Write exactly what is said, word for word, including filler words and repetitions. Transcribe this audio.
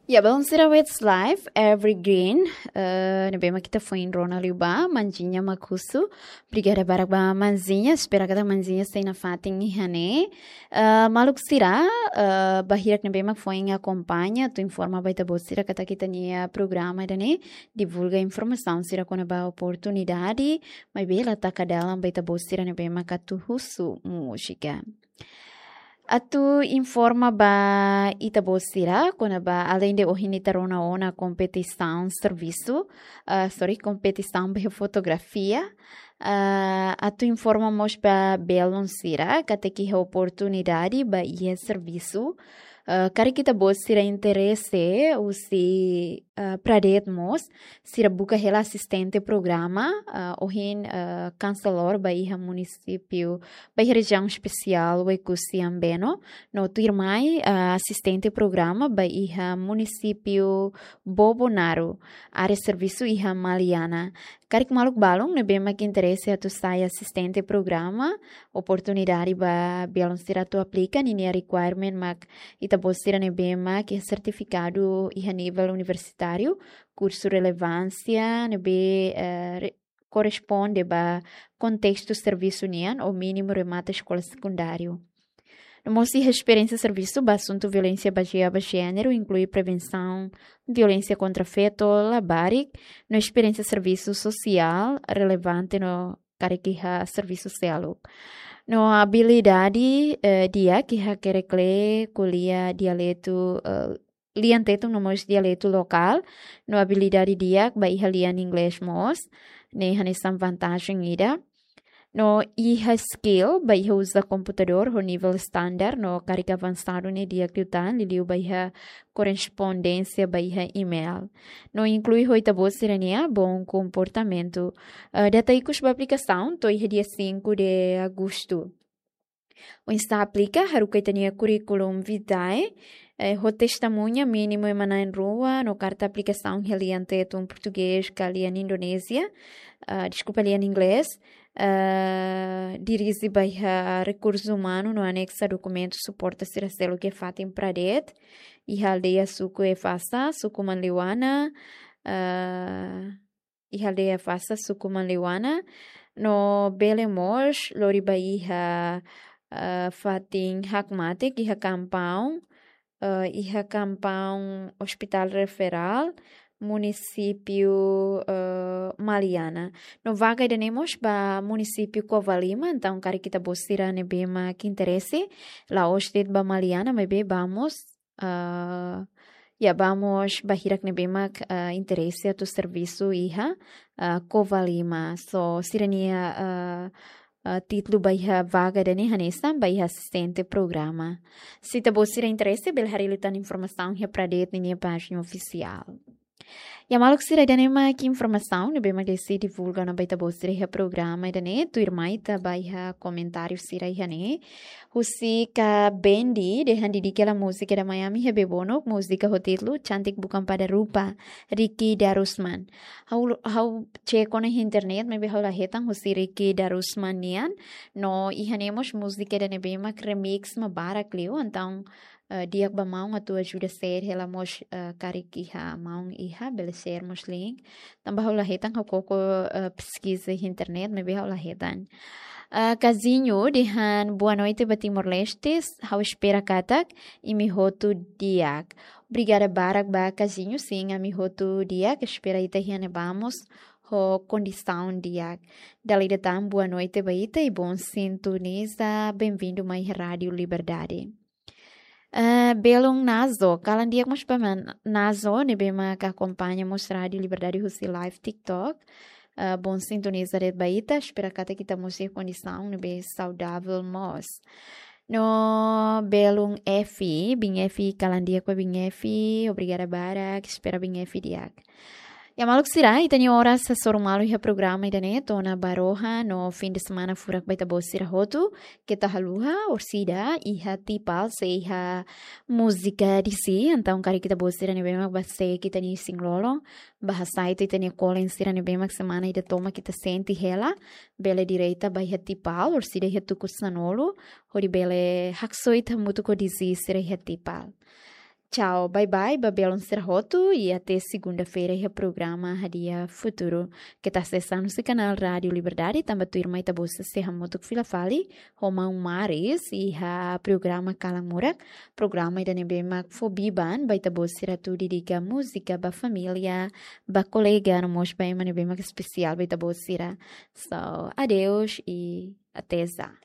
Ya, belun sira, Westlife, Evergreen, eh, ne'ebé mak ita foin rona liu ba, Manzinha mak husu. Obrigada barak ba Manzinha, espera katak Manzinha sei nafatin iha ne'e. Eh, maluk sira, eh, ba hirak ne'ebé mak foin akompaña, atu informa ba ita-boot sira katak ita-nia programa ida-ne'e divulga informasaun sira kona-ba oportunidade, maibé la taka dalan ba ita-boot sira ne'ebé mak atu husu múzika. Atu informa ba ita-boot sira kona-ba, aleinde ohin ita rona ona kompetisaun servisu, ah, sorry, kompetisaun ba fotografia, ah, atu informa mós ba belun sira katak iha oportunidade ba iha servisu. Ah, karik ita-boot sira interese husi, ah, Pradede mós, sira buka hela asistente programa, ah, ohin, ah, kanselór ba iha munisípiu, ba iha rejiaun espesiál Oekusi Ambeno, no tuirmai, ah, asistente programa ba iha munisípiu Bobonaro, área servisu iha Maliana. Karik maluk balun ne'ebé mak interese atu sai asistente programa, oportunidade ba belun sira atu aplika, ninia requirement mak ita-boot sira ne'ebé mak iha sertifikadu iha nivel universitáriu, kursu relevánsia ne'ebé, eh, re-, korresponde ba kontestu servisu nian ou mínimu remata eskola sekundáriu. No mós iha esperiénsia servisu ba asuntu violénsia bazeia ba jéneru, inklui prevensaun violénsia kontra feto, labarik, no esperiénsia servisu sosiál relevante no karik iha servisu seluk. No abilidade, eh, di'ak iha hakerek lee, ko'alia dialetu, eh, lian Tetun no mós dialetu lokál, no abilidade di'ak ba iha lian inglés mós, ne'e hanesan vantajen ida. No iha skill ba iha uza komputadór ho nivel standar, no karik avansadu ne'e di'ak liután, liuliu ba iha korrespondénsia ba iha email. No inklui ho ita-boot sira-nia bom komportamentu. Eh, data ikus ba aplikasaun to'o iha dia cinco de agosto. Oinsá aplika, haruka ita-nia curriculum vitae, eh, ho testemuña mínimu ema na'in rua, no karta aplikasaun iha lian Tetun portugés ka lian Indonézia, ah, deskulpa, lian inglés, ah, dirije ba iha rekursu umanu no anexa dokumentu suporta sira seluk iha fatin Pradede, iha aldeia suku Efasa, suku Manleuana, ah, iha aldeia Efasa, suku Manleuana, no bele mós lori ba iha, eh, fatin hakmatek iha kampaun, eh, iha kampaun Hospital Referral, munisípiu, eh, Maliana. No vaga ida-ne'e mós ba munisípiu Covalima, entaun karik ita-boot sira ne'ebé mak interese, la'ós de'it ba Maliana, maibé ba mós, ah, ya, ba mós ba hirak ne'ebé mak, ah, interese atu servisu iha, ah, Covalima. So, sira-nia, ah, ah, títulu ba iha vaga ida-ne'e hanesan ba iha asistente programa. Se ita-boot sira interese, bele haree liután informasaun iha Pradede ninia pájina ofisiál. Ya, maluk sira, ida-ne'e mak informasaun ne'ebé mak Desi divulga ona ba ita-boot sira iha programa ida-ne'e. Tuirmai ita ba iha komentáriu sira iha ne'e. Husik Bendi dehan didike hela múzika ida Miami iha Bebonuk, múzika ho títulu Cantik Bukan Pada Rupa, Ricky Darusman. Ha'u, ha'u cek ona iha internet, maibé ha'u la hetan husi Ricky Darusman nian. No iha ne'e mós múzika ida ne'ebé mak remix mak barak liu, entaun, eh, di'ak ba maun atu ajuda share hela mós, eh, karik iha maun iha, bele share mós link. Tanba ha'u la hetan, ha'u koko, eh, peskiza iha internet, maibé ha'u la hetan. Eh, Kazinho dehan boa noite ba Timor-Leste, ha'u espera katak imi hotu di'ak. Obrigada barak ba Kazinho, sin, ami hotu di'ak, espera ita iha ne'ebá mós ho kondisaun di'ak. Dala ida tan boa noite ba ita i bom sintoniza, bem-vindo mai Rádio Liberdade. Eh, belun Nazo, kalan di'ak mós ba maun Nazo, ne'ebé mak akompaña mós Rádio Liberdade husi live TikTok. Eh, bom sintoniza de'it ba ita, espera katak ita mós iha kondisaun ne'ebé saudavel mós. No belun Efi, biin Efi, kalan di'ak ba biin Efi, obrigada barak, espera biin Efi di'ak. Ya, maluk sira, ita-nia oras hasoru malu iha programa ida-ne'e to'o ona ba rohan, no fim de semana furak ba ita-boot sira hotu. Keta haluha, orsida iha Tipal sei iha múzika Desi, entaun karik ita-boot sira ne'ebé mak bá seek ita-nia isin-lolon, bá hasai tiha ita-nia kolen sira ne'ebé mak semana ida tomak ita sente hela, bele direta ba iha Tipal, orsida iha tuku sanulu, hodi bele haksoit hamutuk ho Desi sira iha Tipal. Tchau, bye bye, ba belun sira hotu, i até segunda-feira iha programa Hadi'a Futuru. Keta sesa husi kanál Rádiu Liberdade, tanba tuirmai ita-boot sei hamutuk fila fali ho maun Maris iha programa Kalan Murak, programa ida ne'ebé mak fó biban ba ita-boot sira atu dedika múzika ba família, ba kolega, no mós ba ema ne'ebé mak espesiál ba ita-boot sira. So, adeus i até já.